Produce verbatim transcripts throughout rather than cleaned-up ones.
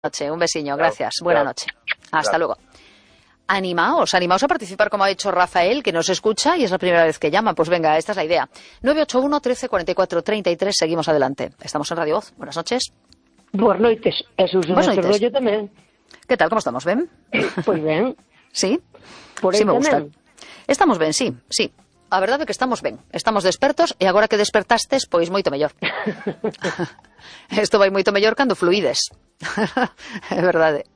noche, un besiño, gracias. Buena noche. Hasta luego. Animaos, animaos a participar como ha hecho Rafael, que nos escucha y es la primera vez que llama. Pues venga, esta es la idea. nueve ocho uno, trece, cuarenta y cuatro, treinta y tres, seguimos adelante. Estamos en Radio Voz. Buenas noches. Buenas noites. Eso é Buenas un noites. rollo tamén. ¿Qué tal? ¿Cómo estamos? ¿Ben? Pois ben. ¿Sí? Por aí Sí, me gusta. tamén. Estamos ben, sí, sí. A verdade é que estamos ben. Estamos despertos e agora que despertastes, pois moito mellor. Isto vai moito mellor cando fluides. É verdade.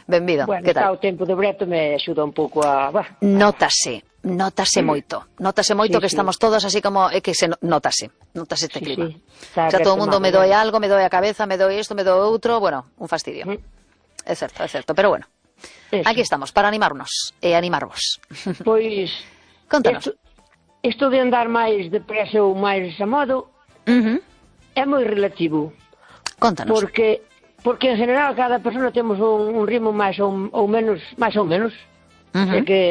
Benvido. Bueno, Que tal? está o tempo de breto me axuda un pouco a... Bah. Nótase, nótase moito. Nótase moito Sí, que sí. estamos todos así como... É que se no- nótase. Nótase este Sí, clima. sí. Está O sea, todo o mundo me retomado, doe bueno. algo, me doe a cabeza, me doe isto, me doe outro... Bueno, un fastidio. Mm. É certo, é certo. Pero bueno, Eso. aquí estamos para animarnos e animarvos. Pois... Contanos. Isto, isto de andar máis depresa ou máis a modo Ujú. é moi relativo. Contanos. Porque porque en general cada persona temos un, un ritmo máis ou, ou menos, máis ou menos. Ujú. É que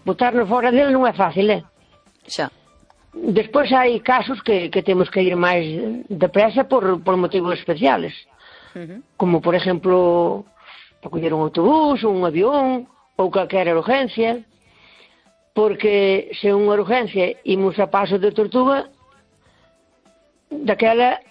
botarnos fora dele non é fácil, é? Xa. Despois hai casos que, que temos que ir máis depresa por, por motivos especiales. Ujú. Como, por exemplo, para coller un autobús, un avión, ou calquera urgencia, porque se unha urgencia imos a paso de tortuga, daquela,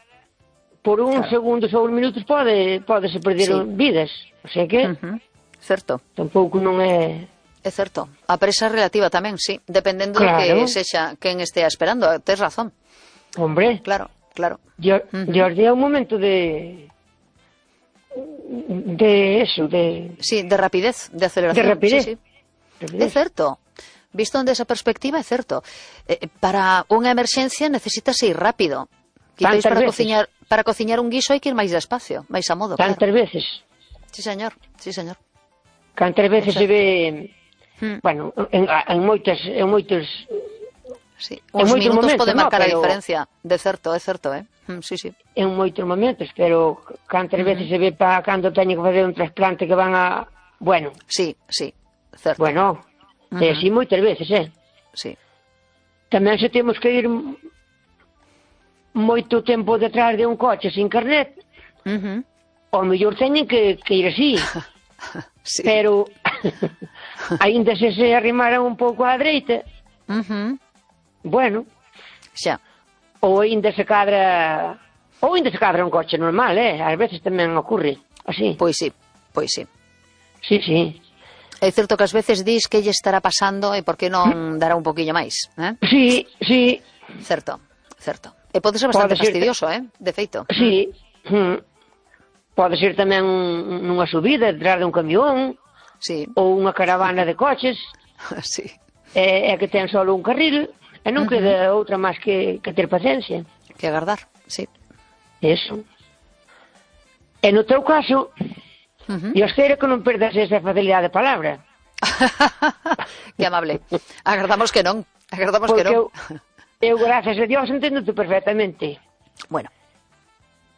por uns Claro. segundos ou uns minutos pode, pode se perder Sí. vidas. O sea que Ujú. Certo. tampouco non é... É certo. A presa é relativa tamén, sí. Dependendo Claro. do que sexa quen estea esperando. Tes razón. Hombre, Claro, claro. yo, Ujú. yo é un momento de... de eso, de... Sí, de rapidez, de aceleración. De rapidez. Sí, sí. É certo. Visto desde esa perspectiva, é certo. Eh, para unha emerxencia necesitas ir rápido. Quizáis Tantas para veces. cociñar, para cociñar un guiso hai que ir máis despacio, máis a modo, Tantas claro. veces. Sí, señor. Sí, señor. Cantas veces O sea- se ve... Hmm. Bueno, en, en moitas... En moitos... Sí. En Uns moitos minutos momentos, poden no, marcar a pero- diferencia. De certo, é certo, eh? Mm, sí, sí. En moitos momentos, pero cantas veces se ve para cando teño que facer un trasplante que van a... Bueno, Sí, sí. Certo. bueno, Ujú. é así moitas veces, eh? Sí. Tamén se temos que ir moito tempo detrás de un coche sin carnet, Ujú. ao mellor teñen que, que ir así, Sí. pero aínda se se arrimaran un pouco á dereita, Ujú. bueno, Xa. ou aínda se cadra ou aínda se cadra un coche normal, eh? Ás veces tamén ocurre así. Pois sí, pois sí. Sí, sí. É certo que ás veces dis que lle estará pasando e por que non dará un poquillo máis, eh? Sí, sí, Certo, certo. E pode ser bastante Pode ser- fastidioso, eh? De feito. sí. Mm. Pode ser tamén un- nunha subida detrás de un camión Sí, ou unha caravana de coches, sí. é, é que ten só un carril e non queda outra máis que, que ter paciencia. Que agardar, sí. Eso. E no teu caso, Ujú. Dios queira que non perdas esa facilidade de palabra. Que amable. Agardamos que non. Agardamos que Porque non. eu, eu, gracias a Dios, entendo-te perfectamente. Bueno.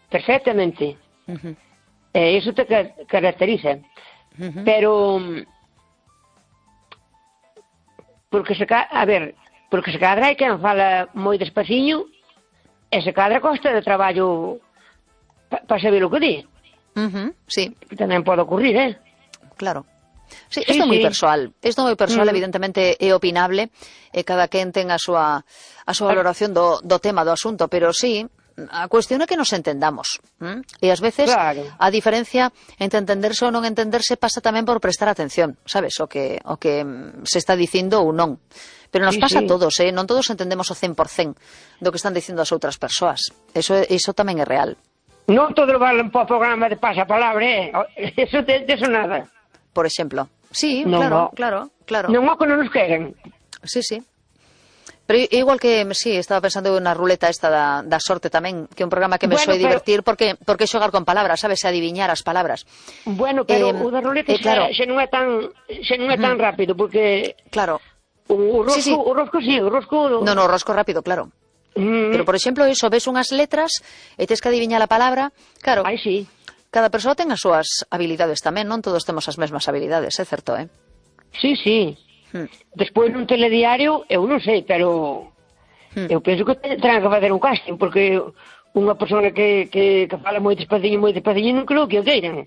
Perfectamente. Ujú. E iso te ca- caracteriza. Ujú. Pero... mm, Porque se ca... A ver, porque se cadra hai quen fala moi despaciño e se cadra costa de traballo para pa saber o que di. Ujú. Sí, Que tamén pode ocurrir, eh? claro. Sí, Sí, isto é moi sí. persoal. Isto é moi persoal, Mm. evidentemente é opinable, e cada quen ten a súa a súa valoración do, do tema, do asunto, pero sí, a cuestión é que nos entendamos. ¿m? E ás veces Claro. a diferencia entre entenderse ou non entenderse pasa tamén por prestar atención, sabes, o que o que mm, se está dicindo ou non. Pero nos Sí, pasa sí. a todos, eh? Non todos entendemos o cen por cen do que están dicindo as outras persoas. Eso é- iso tamén é real. Non todo valen para o programa de pasapalabra, eh? Eso de, de eso nada. Por exemplo. Sí, Non, claro, no. claro, claro. Non o que non nos queren. Sí, sí. Pero i- igual que, sí, estaba pensando na ruleta esta da, da sorte tamén, que é un programa que me Bueno, soe pero- divertir porque porque xogar con palabras, sabes, adiviñar as palabras. Bueno, pero Eh, o da roleta eh, claro. xa, xa non é tan xa non é tan rápido porque Claro. o, o rosco, Sí, sí. o rosco sí, o rosco No, no, rosco rápido, claro. Mm, Pero, por exemplo, iso, ves unhas letras e tes que adiviñar a palabra. Claro, Ai, sí. cada persoa ten as súas habilidades tamén, non todos temos as mesmas habilidades, é certo, eh? Sí, sí. Hmm. Despois nun telediario, eu non sei, pero Hmm. eu penso que te- terán que facer un casting, porque unha persona que, que, que fala moi despaciño, moi despaciño, non creo que o queiran.